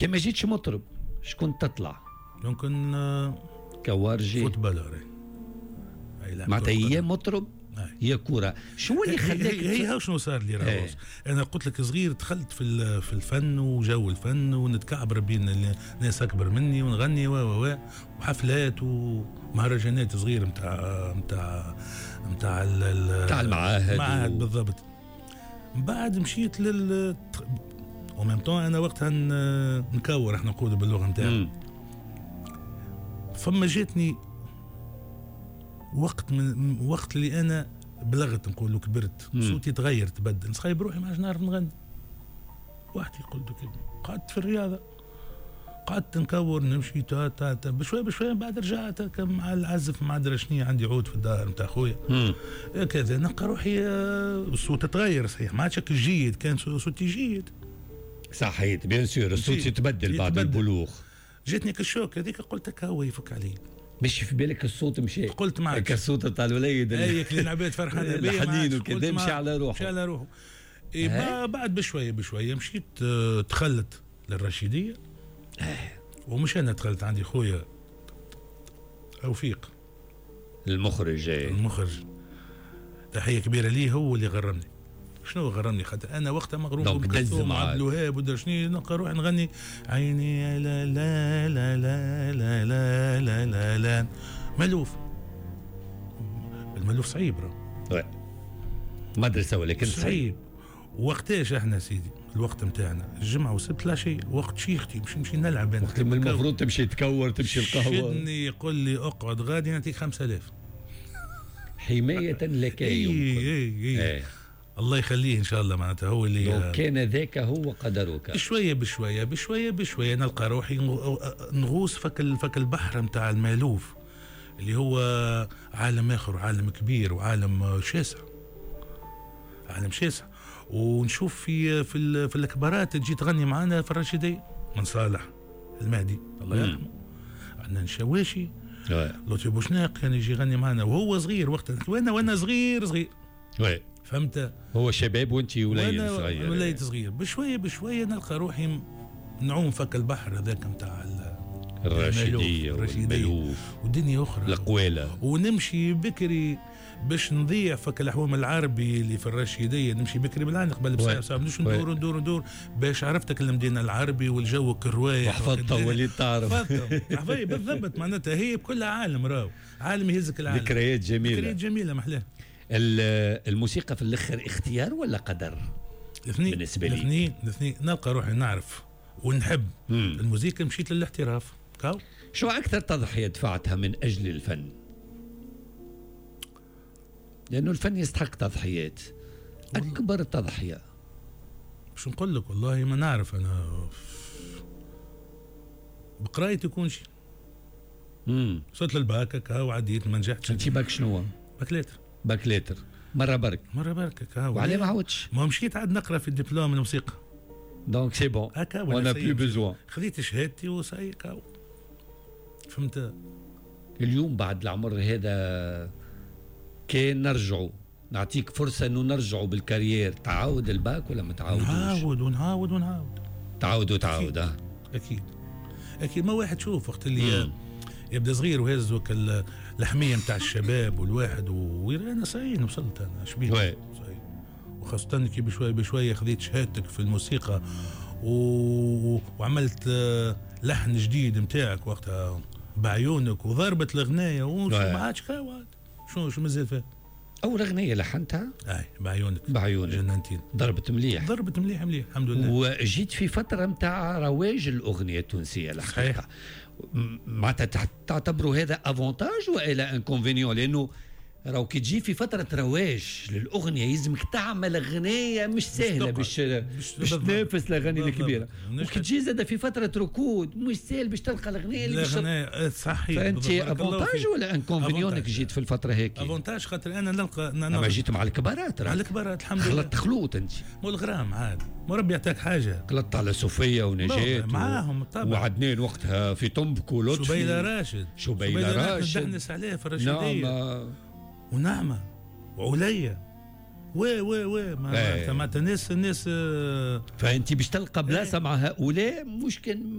كان ما جيتش مطرب شكون تطلع؟ يمكن كوارجي، footballeur. معناتها يا مطرب يا كورة. شو اللي خلاك؟ هي شنو صار لي راهو؟ انا قلت لك صغير دخلت في الفن وجو الفن، ونتكعبر بين ناس اكبر مني ونغني و وحفلات ومهرجانات صغير نتاع نتاع نتاع نتاع المعاهد. بالضبط. من بعد مشيت لل au même temps انا وقتها نكور، احنا نقولوا باللغة نتاعنا. فما جاتني وقت من وقت اللي انا بلغت، نقولوا كبرت، صوتي تغير تبدل، نسخايب روحي ما عادش نعرف نغني وحدي. قلت قعدت في الرياضه، قعدت نكور، نمشي تا تا تا بشوية بشويه. بعد رجعت مع العزف، مع درا شنيا، عندي عود في الدار نتاع خويا كذا، نلقى روحي الصوت تغير. صحيح ما عادش جيد، كان صوتي جيد. صحيت، bien sûr الصوت يتبدل بعد البلوغ. جاتني ك ال choc هذيك، قلت لك هو يفك علي. مش في بالك الصوت مشى؟ قلت معك الصوت تاع الوليد. اي اللي العباد فرحانة بيه، الحنين وكذا، مشى على روحه. مشى على روحه. إيه، بعد بشوية بشوية مشيت دخلت للرشيديه. ومش انا دخلت، عندي خويا توفيق. المخرج. المخرج، تحية كبيرة ليه، هو اللي غرمني. شنو غرمني؟ خاطر انا وقتها مغروم donc دز بكلثوم، عبد الوهاب ودرا شنو، نلقى روحي نغني عيني لا لا لا لا لا لا لا لا لا ملوف. الملوف صعيب راه. مدرسه ولكن صعيب. صعيب. وقتاش احنا سيدي الوقت نتاعنا الجمعة والسبت لا شيء، وقت شيختي باش نمشي نلعب انا. وقت من المفروض تمشي تكور، تمشي القهوه. شدني يقول لي اقعد غادي نعطيك 5000. حماية لك. اي اي اي. الله يخليه ان شاء الله، معناتها هو اللي كان ذاك هو قدرك. بشوية بشوية بشوية بشوية نلقى روحي نغوص فك البحر نتاع المالوف، اللي هو عالم اخر، عالم كبير وعالم شاسع، عالم شاسع. ونشوف في الكبارات تجي تغني معنا في الرشيديه، من صالح المهدي الله يرحمه، عندنا الشواشي، لطفي بوشناق كان يجي يغني معنا وهو صغير وقتها، وانا صغير صغير. فهمت؟ هو شباب وانت وليد صغير. وليد صغير. بشوية بشوية نلقى روحي نعوم فك البحر هذاك نتاع الرشيديه والملوف ودنيا اخرى، القواله. ونمشي بكري باش نضيع فك الحوام العربي اللي في الرشيديه، نمشي بكري بالعين قبل بساعة ساعة، نمشي ندور ندور ندور باش عرفتك المدينة العربي والجو كروايح. وحفظتها وليت تعرف. حفظتها بالضبط، معناتها هي بكل عالم، راهو عالم يهزك العالم. ذكريات جميلة. ذكريات جميلة محلاها. الموسيقى في الاخر اختيار ولا قدر؟ الاثنين. بالنسبة لي الاثنين. الاثنين. نلقى روحي نعرف ونحب الموسيقى، مشيت للاحتراف. كاو. شو اكثر تضحية دفعتها من اجل الفن؟ لانه الفن يستحق تضحيات. اكبر تضحية باش نقول لك والله ما نعرف، انا بقرايتي يكون شيء. وصلت للباك هكا وعديت، ما نجحتش. انت باك شنو؟ bac lettres. bac lettres مرة برك. مرة برك هكا. وعليه ما عاودش؟ ما مشيت عاد نقرا في الدبلوم الموسيقى. donc c'est bon هكا on a plus besoin. خذيت شهادتي وصاي كاو. فهمت؟ اليوم بعد العمر هذا كان نرجعوا، نعطيك فرصة انه نرجعوا بال carrière، تعاود الباك ولا ما تعاودوش؟ نعاود ونعاود ونعاود. تعاود وتعاود. اكيد اكيد. ما واحد شوف وقت اللي يبدا صغير وهز وك الحمية نتاع الشباب والواحد انا صحيح وصلت انا شبيه. وخاصة كي بشوية بشوية خذيت شهادتك في الموسيقى وعملت لحن جديد نتاعك وقتها بعيونك وضربت الغنايه وما عادش شو مازال فيها؟ اول اغنية لحنتها؟ اي بعيونك. بعيونك جننتين. ضربت مليح. ضربت مليح مليح الحمد لله. وجيت في فترة نتاع رواج الاغنية التونسية الحقيقة. معناتها تعتبروا هذا avantage والا inconvénient؟ لانه راهو كي تجي في فترة رواج للاغنية يلزمك تعمل اغنية مش سهلة باش تنافس الاغاني الكبيرة، وكي تجي زاد في فترة ركود مش سهل باش تلقى الاغنية اللي باش صحيح. فانت avantage ولا inconvénient انك جيت في الفترة هيك؟ avantage خاطر انا نلقى اما جيت مع الكبارات. مع الكبارات الحمد لله. خلطت خلوط انت. مو الغرام عاد، مو ربي يعطيك حاجة. خلطت على صوفيا ونجاة معاهم طبعا، وعدنان وقتها في طنبك ولطفي. شبيله راشد. شبيله راشد ندحنس عليه في الرشيديه. نعم. ونعمة وعليا. oui oui oui، معناتها الناس فانت باش تلقى بلاصة مع هؤلاء مش كان.